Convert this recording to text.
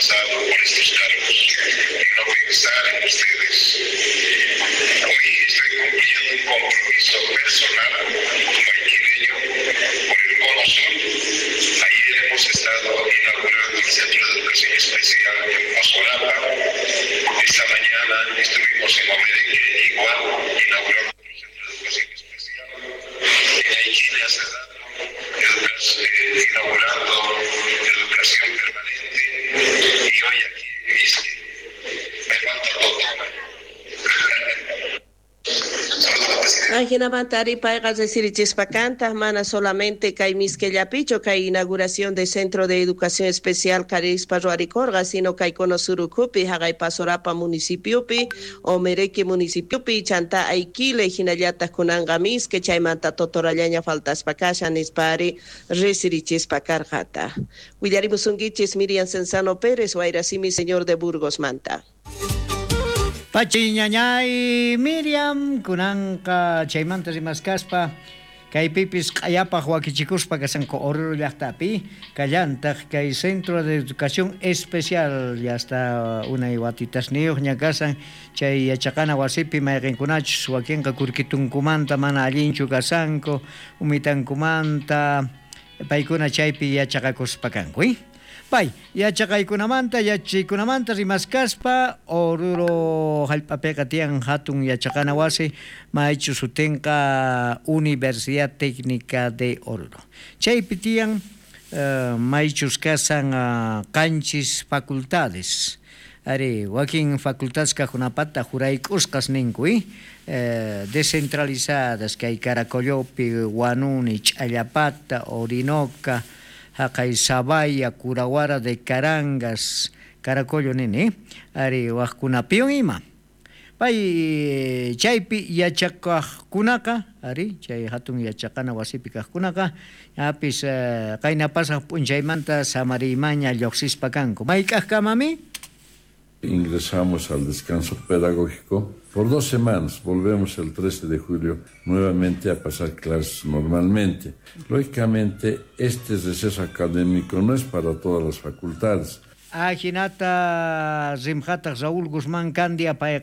pasado por estos cargos y no pensar en ustedes. Hoy estoy cumpliendo un compromiso personal como aiquileño por el Cono Sur. Ayer hemos estado inaugurando el Centro de Educación Especial en Pasorapa. Esta mañana estuvimos en Omereque, igual, inaugurando otro centro de educación especial. En Aiquile hace rato, inaugurando educación permanente, y hoy aquí en Mizque. Me falta Totora. Ajinamanta ari payqa resirichispa kantaq mana solamente kay Mizquellapichu kay inauguración de Centro de Educación Especial karispa ruwarikurqa, sino kay Cono Sur ukhupi, haqay Pasorapa municipiopi, Omereque municipiopi, chanta Aiquile, hinallataq kunanqa Mizque, chaymanta Totorallaña faltaspa kashan nispa ari resirichispa karqata. Willarimusunkichis Miriam Cenzano Pérez, Wayrasimi, señor de Burgos manta. Pachi ñañay Miriam, kunanqa chaymanta rimaskaspa, kaypipis q'ayapaj wakichikuspa kasanku Oruro llaqtapi, kallantaq kay Centro de Educación Especial, ya está unay watitasniyuqña kasan, chay yachaqana wasipi mayqinkunachus wakinqa kurkitunkumanta mana allinchu kasanku, umitankumanta, paykuna chaypi yachaqakuspa kanku, Pay, yachaqaykunamanta, yachaykunamanta rimaskaspa, Oruro hallp'apiqa tiyan hatun yachaqana wasi, maychu sutinqa Universidad Técnica de Oruro. Chaypi tiyan maychus kasan qanchis facultades. Ari, wakin facultades kajunapata jurayk'usqas ninku, descentralizadas, kay Caracollopi, Huanuni, Ch'allapata, Orinoca, haqay Sabaya, Curahuara de Carangas, Caracollo nini, ari wajkunapiwan ima. Pay chaypi yachaqaqkunaqa, ari chay hatun yachaqana wasipi kaqkunaqa, apis qayna pasaq p'unchaymanta samariymaña lluqsispa kanku. Mayk'aqkamami? Ingresamos al descanso pedagógico por 2 semanas. Volvemos el 13 de julio nuevamente a pasar clases normalmente. Lógicamente, este receso académico no es para todas las facultades. Ajinata rimjataq Raúl Guzmán Candia payqa.